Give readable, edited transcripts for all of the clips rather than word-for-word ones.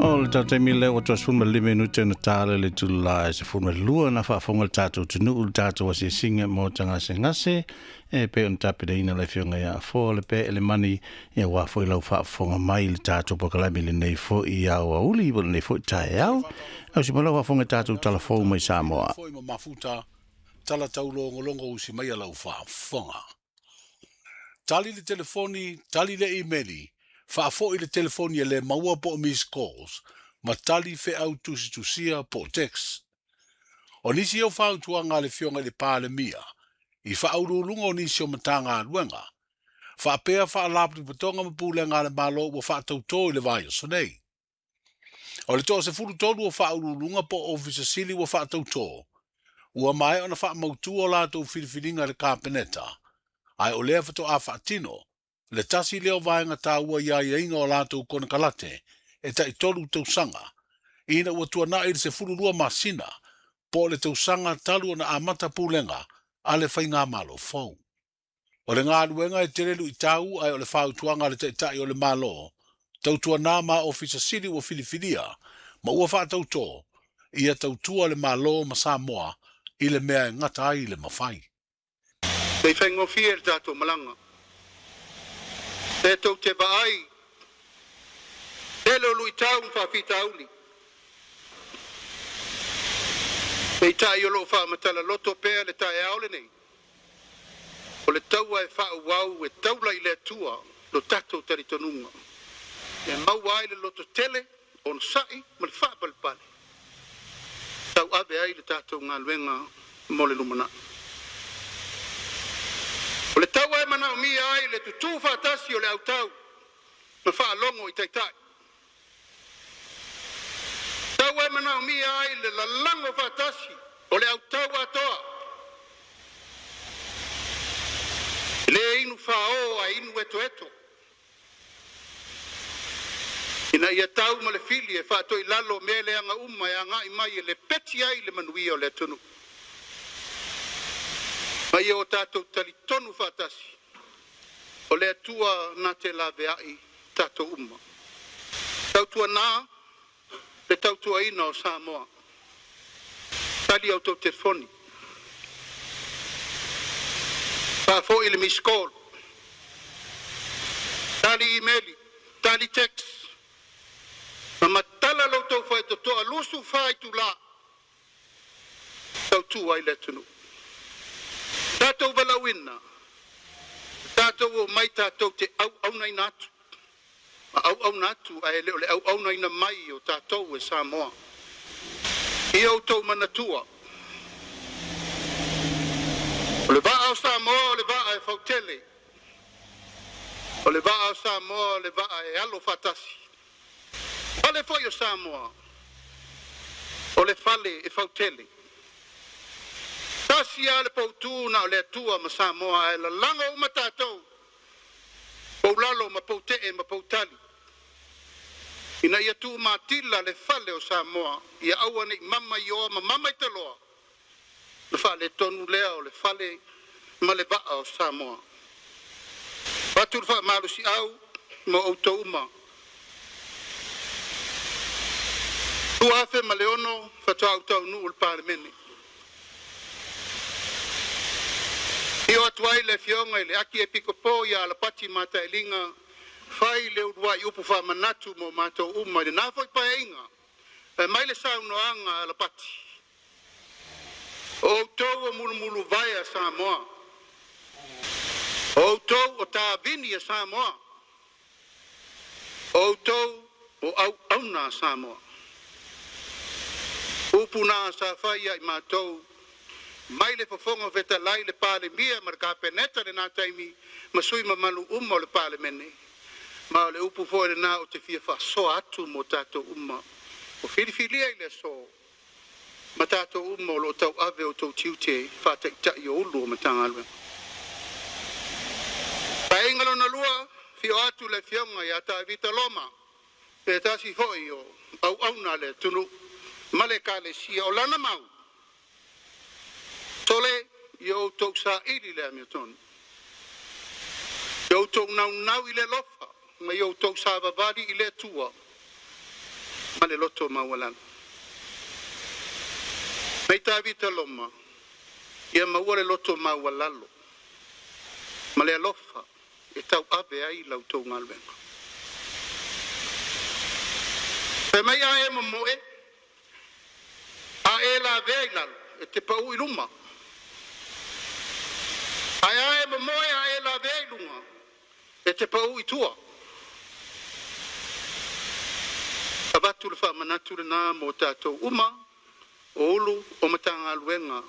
O le taimi lea ua 15 minute na tala le itula e 12 na faafofoga le tatou atunuu le tatou asiasiga mo tagasegase e pei ona tapenaina le afioga ia Afoa le pe ele mani ia ua foi lau faafofoga mai le tatou polokalame lenei foi aoauli po lenei foi taeao. Au si malau faafofoga tatou talafou mai Samoa. Foi ma mafuta tala taulogologo usi mai a lau faafofoga. Tali le telefoni, tali le imeli, faafoi le telefoni e le maua po o miss calls, ma tali feau tusitusia po o text. O nisi o fautuaga a le Afioga i le Palemia i faauluuluga o nisi o Matagaluega, faapea faalapotopotoga ma pulega a le Malo ua faatautō i le vaiaso nei. O le 13 o faauluuluga po o Ofisa Sili ua faatautō, ua maea ona faamautu o latou filifiliga i le Kapeneta, ae o lea faatoa faatino le tasi lea o vaega taua i aiaiga o latou konekarate e tai 3 tausaga, ina ua tuanai le 12 masina po o le tausaga talu ona amata pulega a le faigamalo fou. O le galuega e tele luitau, ae o le fautuaga a le Taitai o le Malo, tautuanā ma Ofisa Sili ua filifilia ma ua faatautō ia tautua le Malo ma Samoa i le mea e gata ai le mafai. Sei faigofie le tatou malaga. E tou te vaai, tele o luitau ma faafitauli. Peitai o loo faamatala loto pea le taeao lenei. O le taua e faaauau e taula i le Atua lo tatou talitonuga. E maua ai le loto tele, onosai ma le faapalepale. Tauave ai le tatou galuega mo le lumanai. O le taua e manaomia ai le tutū faatasi o le autau ma faalogo i taitai. Taua e manaomia ai le lalago faatasi o le autau atoa. E le inu fāō ae inu etoeto. Ina ia tau ma le fili e faatoilalo mea leaga uma e agai mai e lepeti ai le manuia o le atunuu. Ma ia o tatou talitonu faatasi, o le Atua na te laveai tatou uma. Tautuanā le tautuaina o Samoa. Tali a outou telefoni. Faafoi le missed call. Tali imeli, tali text. Ma matala lo outou faitotoa 24 itulā. Tautua ai le atunuu. Tatou valaauina, tatou omai tatou te auaunaina atu. Ma auauna atu ae le o le auaunaina mai o tatou e Samoa. Ia outou manatua. O le vaa o Samoa o le vaa e fautele. O le vaa o Samoa o le vaa e alo faatasi. Fale foi o Samoa, o le fale e fautele. Tasi a le poutu na o le Atua ma Samoa ae lalago uma tatou. Poulalo ma poutee ma poutali. Ina ia tuumatila le fale o Samoa, ia aua nei mama i oa ma mama i taloa. Na faaletonu lea o le fale ma le vaa o Samoa. Fatu le faamalosiau ma outou uma. 2006 faatoa ou taunuu i le Palemene. Afio atu ai le afioga i le Akiepikopo ia Alapati Matailiga fai le uluai upu faamanatu mo matou uma i lena foi paeaiga. E mai le saunoaga a Alapati. O outou o mulumuluvae a Samoa. O outou o tavini a Samoa. O outou o auauna a Samoa. Upu na sa fai ia i matou mai le Fofoga Fetalai, le Palemia ma le Kapeneta lena taimi ma sui mamalu uma o le Palemene. Ma o le upu foi lena ou te fia faasoa atu mo tatou uma. O filifilia i le aso ma tatou uma o lo o tauave o outou tiute faataitai o Ofisa Sili o Matagaluega. Paeaiga lona lua, afio atu le afioga ia Tavita Loma, se tasi foi o auauna a le atunuu ma le ekalesia o lana mau. Sole, ia outou saili le amiotonu. Ia outou naunau i le alofa ma ia outou savavali i le Atua. Ma le loto maualalo. Mai Tavita Loma, ia maua le loto maualalo ma le alofa e tauave ai la outou galuega. Fai mai a e momoe, a e lavea i lalo, e te pau i luma. Ae a e momoe a e lavea i luga, e te pau i tua. Avatu le faamanatu lenā mo tatou uma o Ulu o Matagaluega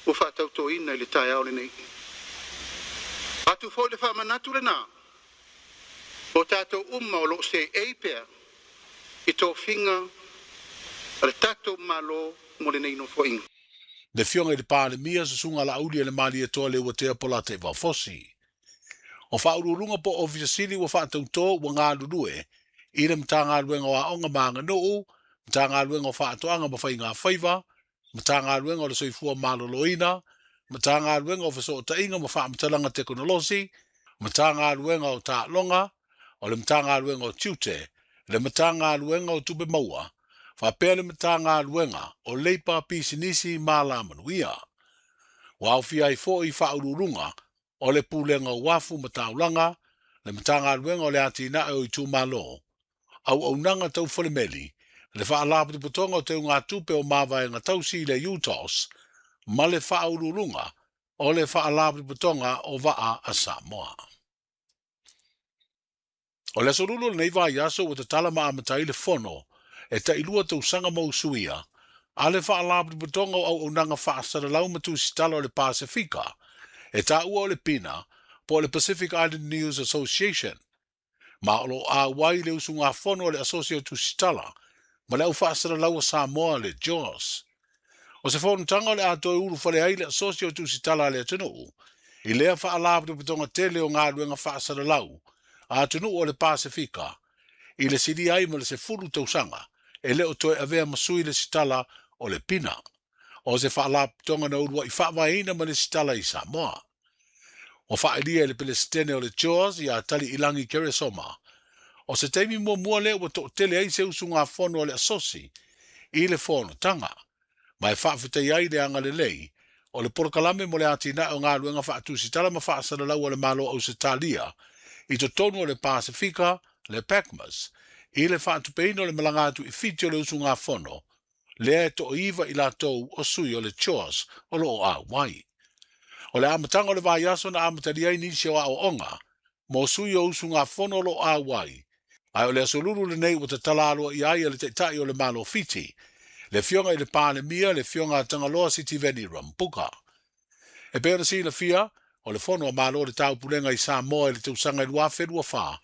ua faatautoina i le taeao lenei. Atu foi le faamanatu lenā o tatou uma o loo seei pea i tofiga a le tatou Malo mo lenei nofoaiga. Le Afioga i le Palemia, Susuga Laaulialemalietoa Leuatea Polataivao Fosi. O Faauluuluga po o Ofisa Sili ua faatautō ua galulue i le Matagaluega o Aoga ma Aganuu, Matagaluega o Faatoaga ma Faigafaiva, Matagaluega o le Soifua Maloloina, Matagaluega o Fesootaiga ma Faamatalaga Tekonolosi, Matagaluega o Taaloga, o le Matagaluega o Tiute, le Matagaluega o Tupe Maua, faapea le Matagaluega o Leipa, Pisinisi ma Alamanuia. Ua aofia ai foi Faauluuluga o le Pulega o Uafu ma Taulaga, le Matagaluega o le Atinae o Itumalo, Auaunaga Tau Falemeli, le Faalapotopotoga o Teugatupe o Mavaega Tausi i le UTOS, ma le Faauluuluga o le Faalapotopotoga o Vaa a Samoa. O le aso Lulu o lenei vaiaso ua tatala ma amata ai le fono e tailua tausaga ma usuia a le Faalapotopotoga o Auaunaga Faasalalau ma Tusitala o le Pasefika e taua o le PINA po o le Pacific Island News Association, ma o lo o auai le usugafono a le Asosi o Tusitala ma le Au Faasalalau a Samoa le JAWS. O se fonotaga o le a toe ulufale ai le Asosi o Tusitala a le atunuu i lea faalapotopotoga tele o galuega faasalalau a atunuu o le Pasefika i le silia ai ma le 10 tausaga e le o toe avea ma sui le sitala o le PINA. O se faalapotopotoga na uluai faavaeina ma le sitala i Samoa. Ua faailia e le Pelesitene o le JAWS ia Taliilagi Keresoma. O se taimi muamua lea ua toatele ai se usugafono a le Asosi i le fonotaga, ma e faafetai ai le agalelei o le polokalame mo le atinae o galuega faatusitala ma faasalalau a le Malo o Ausetalia i totonu o le Pasefika, le PACMAS, i le faatupeina o le malaga atu i Fiti o le usugafono, lea e toaiva i latou o sui o le JAWS o lo o auai. O le amataga o le vaiaso na amatalia ai nisi o aoaoga mo sui o usugafono o lo o auai, ae o le aso Lulu lenei ua tatala aloaia ai e le Taitai o le Malo Fiti, le Afioga i le Palemia, le Afioga a Tagaloa Sitiveni Rambuka. E pei ona silafia, o le fono a Malo o le Taupulega i Samoa i le tausaga e 2024,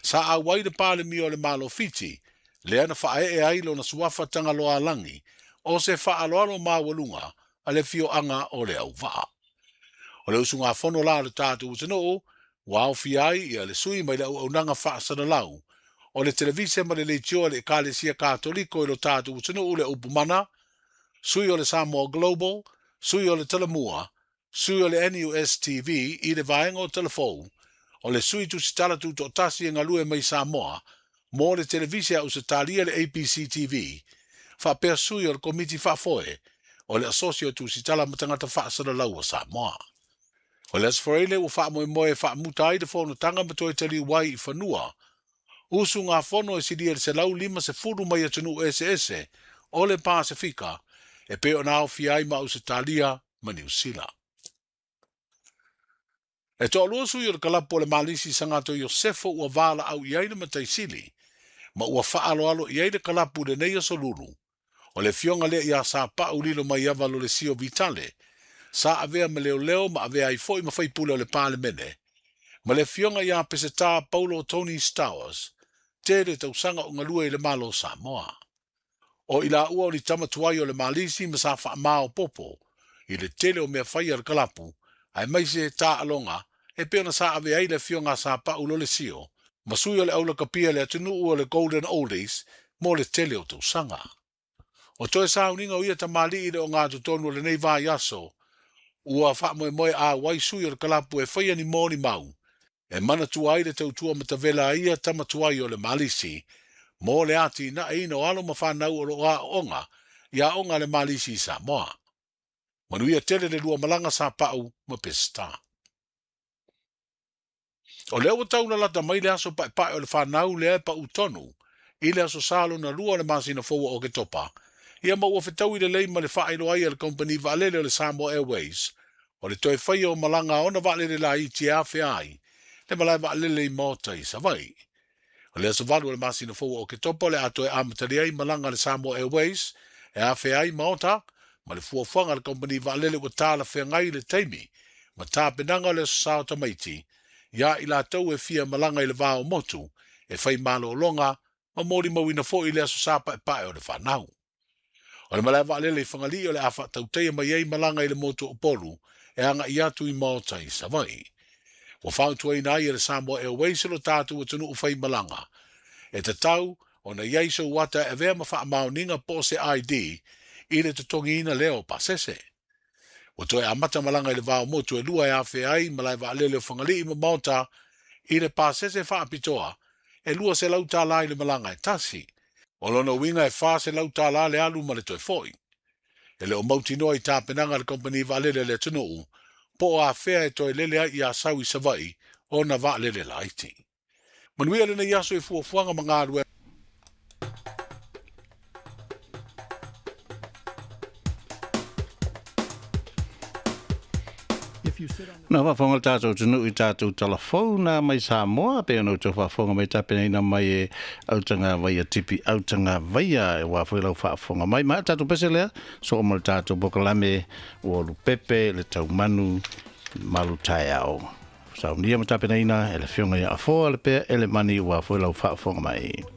sa auai le Palemia o le Malo Fiti, lea na faaee ai lona suafa Tagaloa Alagi, o se faaaloalo maualuga a le afioaga o Leauvaa. O le usugafono la a le tatou atunuu, ua aofia ai ia le sui mai le auaunaga faasalalau o le televise ma le leitio a le Ekalesia Katoliko i lo tatou atunuu le Upumana, sui o le Samoa Global, sui o le Talamua, sui o le NUS TV i le vaega o Talafou, o le sui tusitala tutoatasi e galue mai Samoa mo le televise a Ausetalia le ABC TV, faapea sui o le Komiti Faafoe o le Asosi o Tusitala ma Tagata Faasalalau a Samoa. O le Aso Faraile ua faamoemoe e faamuta ai le fonotaga ma toe taliu ai i fanua usugafono e silia i le 150 mai atunuu eseese o le Pasefika e pei ona aofia ai ma Ausetalia ma Niu Sila. E toalua sui o le kalapu o le Malisi Sagato Iosefo ua valaau i ai le Mataisili ma ua faaaloalo i ai le kalapu i lenei aso Lulu. O le afioga lea ia Sapau Lilo Maiava Lolesio Vitale, sa avea ma leoleo ma avea ai foi ma faipule o le Palemene, ma le afioga ia Peseta Paulo Tony Stowers, tele tausaga o galue i le Malo o Samoa. O i laua o ni tama tuai o le Malisi ma sa faamaopoopo i le tele o mea fai a le kalapu, aemaise taaloga e pei ona sa ave ai le afioga a Sapau Lolesio ma sui o le aulakapia i le atunuu o le Golden Oldies mo le tele o tausaga. O toe sauniga o ia tamalii i le ogatotonu o lenei vaiaso, ua faamoemoe auai sui o le kalapu e faia ni molimau e manatua ai le tautua matavela a ia tama tuai o le Malisi Mo le atinaeina o alo ma fanau o loo aooga i aoga a le Malisi i Samoa. Manuia tele le lua malaga sa Pau ma Peseta. O lea ua tau lalata mai le aso paepae o le fanau lea e pau tonu i le aso Sa lona lua o le masina fou o Oketopa, ia ma ua fetaui lelei ma le faailoa ai a le kamupani vaalele o le Samoa Airways o le toe faia o malaga a ona vaalele laiti e afea ai le malae vaalele i Maota i Savaii. O le aso 8 o le masina fou o Oketopa o le a toe amatalia ai malaga a le Samoa Airways e afea ai Maota ma le fuafuaga a le kamupani vaalele ua talafeagai i le taimi ma tapenaga o le aso Sa o tamaiti ia i latou e fia malaga i le va o motu e fai malologa ma molimauina foi le aso Sa paepae o le fanau. O le malae vaalele i Fagalii o le a faatautaia mai ai malaga i le motu o Upolu e agai atu i Maota i Savaii. Ua fautuaina ai e le Samoa Airways lo tatou atunuu fai malaga. E tatau ona i ai sou ata e avea ma faamaoniga po o se ID i le totogiina lea o pasese. Ua toe amata malaga i le va o motu e lua e afea ai malae vaalele o Fagalii ma Maota i le pasese faapitoa e $200 i le malaga e tasi. O lona uiga e $400 le alu ma le toe foi. E le o mautinoa i tapenaga a le kamupani vaalele a le atunuu po o afea e toe lele ai i Asau i Savaii ona vaalele laiti. Manuia lenei aso i fuafuaga ma galuega. Na faafofoga le tatou atunuu i tatou talafou na mai Samoa pe ona outou faafofoga mai tapenaina mai e Autagavaia Tipi Autagavaia aua foi lau faafofoga mai. Ma o le tatou pese lea, soo ma le tatou polokalame ua lupepe le taumanu malu taeao. Saunia ma tapenaina e le Afioga ia Afoa Lepea Elemani aua foi lau faafofoga mai.